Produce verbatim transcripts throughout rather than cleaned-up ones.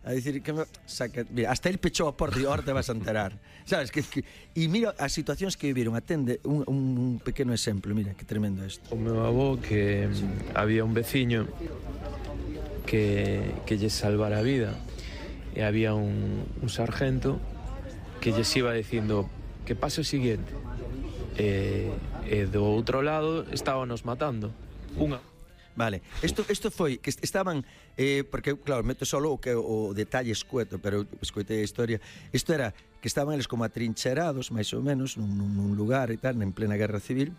a dicir que me, saca, mira, hasta el pechou a porta e ahora te vas a enterar. Sabes que, que e mira as situacións que viviron, atende un, un pequeno exemplo, mira, que tremendo isto. O meu avó que sí. Había un veciño que que lle salvara a vida e había un, un sargento que lles iba dicindo que pase o siguiente. E, e do outro lado estábanos matando. Unha Vale, isto, isto foi que estaban eh, porque claro, meto solo o que o detalle escueto, pero escoitei a historia. Isto era que estaban eles como atrincherados, máis ou menos, nun, nun lugar e tal, en plena guerra civil.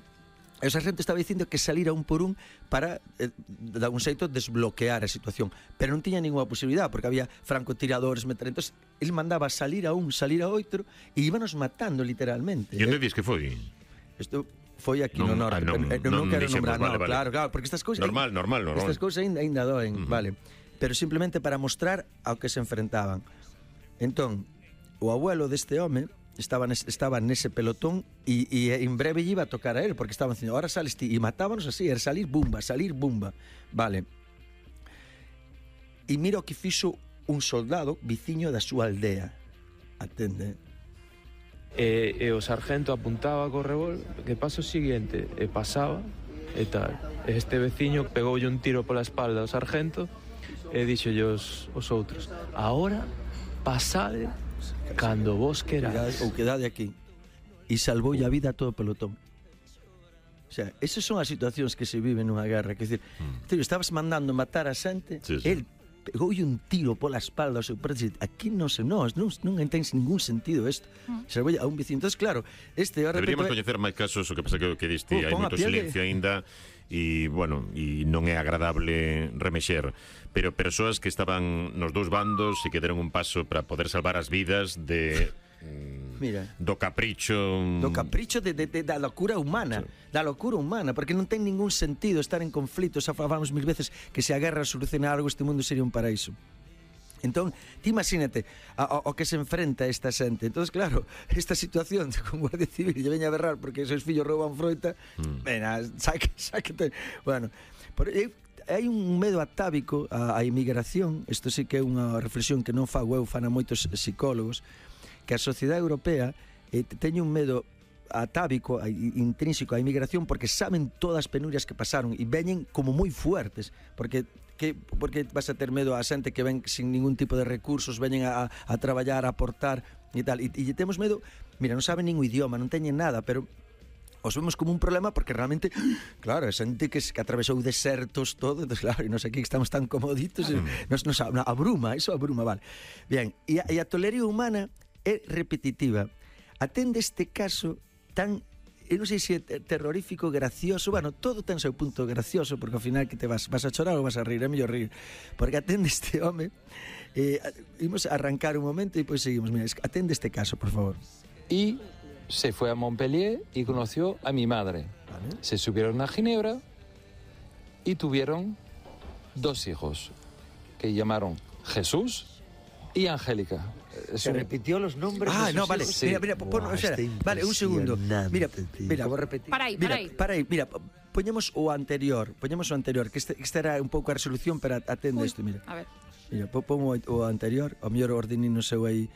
E o sargento estaba dicindo que salira un por un para eh, de un xeito desbloquear a situación, pero non tiña ninguna posibilidade porque había francotiradores, metralladores. Entonces, el mandaba salir a un, salir a outro e íbanos matando literalmente. E onde dis que foi? Isto foi aquí non, no norte, ah, non, pero non, non quero nombrar, vale, no, vale. claro, claro, porque estas cousas normal, normal, normal. Estas cousas ainda, ainda doen, uh -huh. Vale, pero simplemente para mostrar ao que se enfrentaban. Entón, o abuelo deste home estaba nes, estaba nese pelotón e, e en breve lle iba a tocar a él, porque estaban dicindo, ahora sales ti, e matábanos así, era salir bumba, salir bumba. Vale. E mira o que fixo un soldado viciño da súa aldea. Atende. E, e o sargento apuntaba co revólver que pasa o seguinte e pasaba e tal. E este veciño pegoulle un tiro pola espalda ao sargento e dixolle os, os outros: "Ahora pasade cando vos queráis." Ou quedade aquí. E salvoulle a vida a todo o pelotón. O sea, esas son as situacións que se viven nunha guerra. Que decir, mm. tío, estabas mandando matar a xente, sí, sí. El pegoulle un tiro pola espalda ao seu presidente. Aquí non se nós, non, non ten ningún sentido isto. Mm. Se voy a un vecino. Entonces, claro, este deberíamos repente... coñecer máis casos, o que pasa que, que diste, hai moito silencio de... aínda e, bueno, e non é agradable remexer. Pero persoas que estaban nos dous bandos e que deron un paso para poder salvar as vidas de... Mira, do capricho do capricho de, de, de, da locura humana, sí. Da locura humana, porque non ten ningún sentido estar en conflito. Xa falamos mil veces que se a guerra soluciona algo, este mundo sería un paraíso. Entón, ti imagínate ao que se enfrenta esta xente. Entonces, claro, esta situación de con Guardia Civil lle veña a berrar porque seus fillos rouban froita, mm. Vena, saque, saque, bueno, por, eh, hai un medo atávico á, á inmigración. Isto sí que é unha reflexión que non fago eu, fan a moitos psicólogos, que a sociedade europea eh, teñe un medo atávico, intrínseco á inmigración, porque saben todas as penurias que pasaron e veñen como moi fuertes, porque que porque vas a ter medo a xente que ven sin ningún tipo de recursos, veñen a, a traballar, a aportar e tal, e, e temos medo, mira, non saben nin o idioma, non teñen nada, pero os vemos como un problema porque realmente, claro, é xente que, que atravesou desertos, todo, entonces, claro, e nos aquí estamos tan comoditos, mm. nos, nos abruma, eso abruma, vale. Bien, e a, e a tolería humana é repetitiva. Atende este caso tan, eu non sei se é terrorífico, gracioso, bueno, todo ten seu punto gracioso, porque ao final que te vas, vas a chorar ou vas a rir, é mellor rir, porque atende este home, eh, imos a arrancar un momento e depois seguimos. Mira, atende este caso, por favor. Y se fue a Montpellier y conoció a mi madre. ¿Vale? Se subieron a Ginebra y tuvieron dos hijos que llamaron Jesús y Angélica. Se repitió los nombres. Ah, de no, vale. Sí. Mira, mira, pon, o sea, vale, un segundo. Mira, mira, vou repetir. Para aí, para aí. Mira, para aí, mira, poñemos o anterior, poñemos o anterior, que este, este era un pouco a resolución, pero atende isto, mira. A ver. Mira, pon o, o anterior, o mellor ordenino seu aí.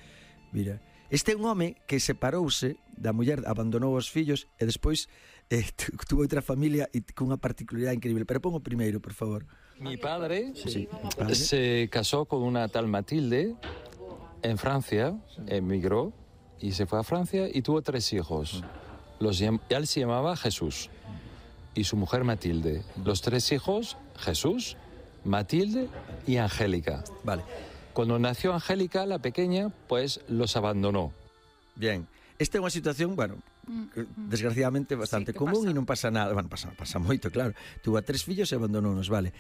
Mira, este é un home que separouse da muller, abandonou os fillos e despois eh, tuvo outra familia e cunha particularidade increíble. Pero pon o primeiro, por favor. Mi padre, sí, padre se casó con una tal Matilde en Francia, emigró y se fue a Francia y tuvo tres hijos. Los, él se llamaba Jesús y su mujer Matilde. Los tres hijos, Jesús, Matilde y Angélica. Vale. Cuando nació Angélica, la pequeña, pues los abandonó. Bien. Esta é unha situación, bueno, desgraciadamente bastante sí, común e non pasa nada. Bueno, pasa, pasa moito, claro. Tuvo a tres fillos e abandonounos, vale.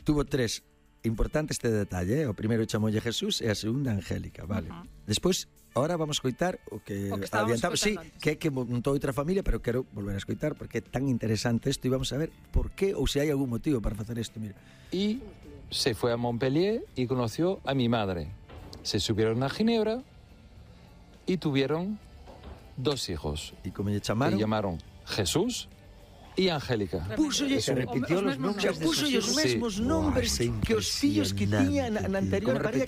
Tuvo tres. Importante este detalle, eh? O primeiro chamolle Jesús e a segunda Angélica, vale. Uh -huh. Despois, ahora vamos a escoitar o que, o que adiantamos, sí, antes. Que é que montou outra familia, pero quero volver a escoitar porque é tan interesante isto e vamos a ver por qué ou se hai algún motivo para facer isto, mira. Y se fue a Montpellier y conoció a mi madre. Se subieron a Ginebra y tuvieron dos hijos. ¿Y cómo le llamaron? Se llamaron Jesús y Angélica. Pusolle, se repitió los nombres. Pusolle os mesmos nombres que os fillos que tiña na anterior pareja.